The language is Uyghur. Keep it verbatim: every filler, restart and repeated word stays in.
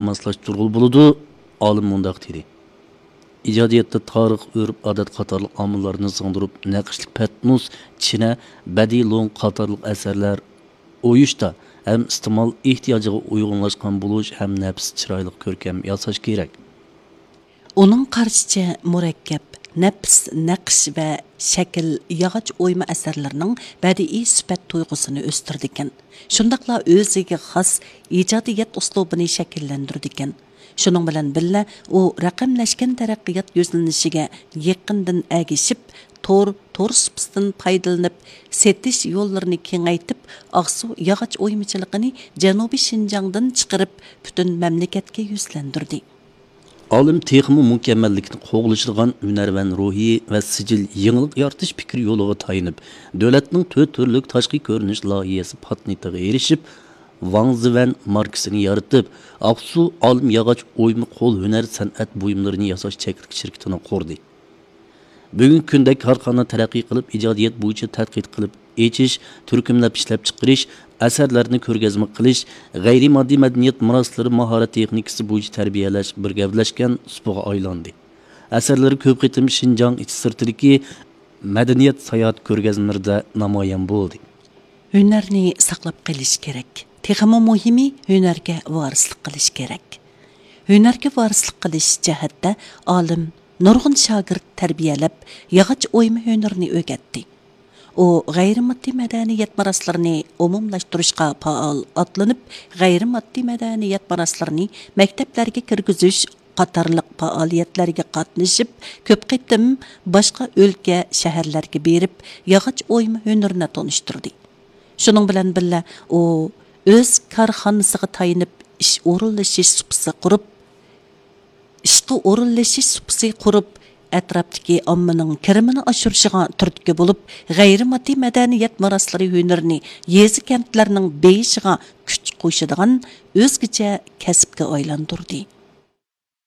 ماسلاشتۇرغىلى بولىدۇ. ئالىم مۇنداق دېدى: ئىجادىيەتتە تارىخ، ئۆرپ-ئادەت قاتارلىق ئامىللارنى سىڭدۈرۈپ، نەقىشلىك پەتنۇس، چىنە، بەدىئىي لوڭ قاتارلىق ئەسەرلەر ئويۇشتا ھەم ئىستېمال ئېھتىياجىغا ئۇيغۇنلاشقان بولۇش ھەم نەپىس، چىرايلىق، كۆركەم ياساش كېرەك. ئۇنىڭ قارىشىچە، مۇرەككەپ، نەپىس نەقىش ۋە شەكىل ياغاچ ئويما ئەسەرلىرىنىڭ بەدىئىي سۈپەت تۇيغۇسىنى ئۆستۈرىدىكەن، شۇنداقلا ئۆزىگە خاس ئىجادىيەت ئۇسلۇبىنى شەكىللەندۈرىدىكەن. شۇنىڭ بىلەن بىللە، ئۇ رەقەملەشكەن تەرەققىيات يۈزلىنىشىگە يېقىندىن ئەگىشىپ، تور، تور سۇپىسىدىن پايدىلىنىپ، سېتىش يوللىرىنى كېڭەيتىپ، ئاقسۇ ياغاچ ئويمىچىلىقىنى جەنۇبىي شىنجاڭدىن چىقىرىپ، پۈتۈن مەملىكەتكە يۈزلەندۈردى. ئالىم تېخىمۇ مۇكەممەللىكنى قوغلىشىدىغان ھۈنەرۋەن روھى ۋە سىجىل يېڭىلىق يارىتىش پىكرى يولىغا تايىنىپ، دۆلەتنىڭ تۆت تۈرلۈك تاشقى كۆرۈنۈش لايىھەسى پاتېنتىغا ئېرىشىپ، ۋاڭ زىۋەن ماركىسىنى يارىتىپ، ئاقسۇ ئالىم ياغاچ ئويما قول ھۈنەر سەنئەت بۇيۇملىرىنى ياساش چەكلىك شىركىتىنى قۇردى. بۈگۈنكى كۈندە كارخانا تەرەققىي قىلىپ، ئىجادىيەت بويىچە تەتقىق قىلىپ ئېچىش، تۈركۈملەپ ئىشلەپچىقىرىش، ئەسەرلەرنى كۆرگەزمە قىلىش، غەيرىي ماددىي مەدەنىيەت مىراسلىرى ماھارەت تېخنىكىسى بويىچە تەربىيەلەش بىر گەۋدىلەشكەن سۇپىغا ئايلاندى. ئەسەرلىرى كۆپ قېتىم شىنجاڭ ئىچى سىرتىدىكى مەدەنىيەت ساياھەت كۆرگەزمىلىرىدە نامايان بولدى. ھۈنەرنى ساقلاپ قېلىش كېرەك. تېخىمۇ مۇھىمى، ھۈنەرگە ۋارىسلىق قىلىش كېرەك. ھۈنەرگە ۋارىسلىق قىلىش جەھەتتە ئالىم نۇرغۇن شاگىرت تەربىيەلەپ، ياغاچ ئويما ھۈنىرىنى ئۆگەتتى. ئۇ غەيرىي ماددىي مەدەنىيەت مىراسلىرىنى ئومۇملاشتۇرۇشقا پائال ئاتلىنىپ، غەيرىي ماددىي مەدەنىيەت مىراسلىرىنى مەكتەپلەرگە كىرگۈزۈش قاتارلىق پائالىيەتلەرگە قاتنىشىپ، كۆپ قېتىم باشقا ئۆلكە، شەھەرلەرگە بېرىپ، ياغاچ ئويما ھۈنىرىنى تونۇشتۇردى. شۇنىڭ بىلەن بىللە، ئۇ ئۆز كارخانىسىغا تايىنىپ ئىش ئورۇنلىشىش سۇپىسى قۇرۇپ، ئىشقا ئورۇنلىشىش سۇپىسى قۇرۇپ، ئەتراپتىكى ئاممىنىڭ كىرىمىنى ئاشۇرۇشىغا تۈرتكە بولۇپ، غەيرىي ماددىي مەدەنىيەت مىراسلىرى ھۈنىرىنى يېزا، كەنتلەرنىڭ بېيىشىغا كۈچ قوشىدىغان ئۆزگىچە كەسىپكە ئايلاندۇردى.